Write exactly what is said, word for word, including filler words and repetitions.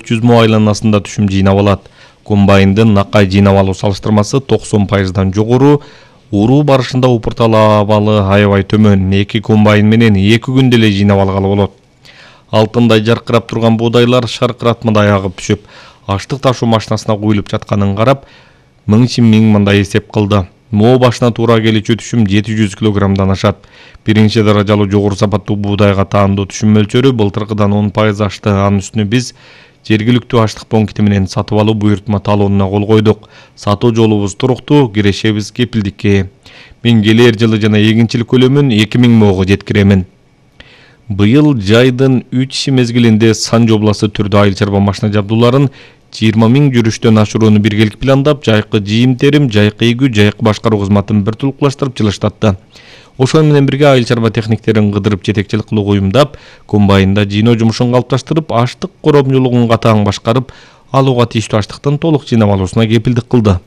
төрт жүз мо айланасында түшүм жыйнап алат. Комбайндын накай жыйнап алуу салыштырмасы токсон пайыздан жогору, уруу барышында упурталабалы аябай төмөн. Эки комбайн менен эки күндө эле жыйнап алгалы болот. Алтындай жаркырап турган буудайлар шаркыратмадай агып түшүп, аштык ташуу машинасына куюлуп жатканын карап, миң миң мындай эсеп кылды. Мо башына туура келичү түшүм жети жүз килограммдан ашат. Биринчи даражалуу жогору сапаттуу буудайга таандуу түшүм мөлчөрү былтыркыдан он пайыз ашты. Анын үстүнө биз жергиликтүү аштык пункти менен сатып алуу буйртма талоонуна кол койдук. Сатуу жолубуз туруктуу, кирешебиз кепилдикке. Мен келер жылы жана эгинчилик көлөмүн эки миң мого жеткиремин. Быйыл жайдын үч мезгилинде сан жобласы түрдө айыл чарба машина жабдууларын жыйырма миң жүрүштөн ашырууну биргелик пландап, жайкы жыйым терим, жайкы эгүү, жайкы башкаруу кызматын бир тулукташтырып жылыштатты. Ошол менен бирге айыл чарба техниктерин кыдырып жетекчилик кылууга уюмдап, комбайнда жыйноо жумушун калыпташтырып, аштык коромчулугун катаң башкарып, алууга тийиштүү аштыктын толук жыйнап алуусуна кепилдик кылды.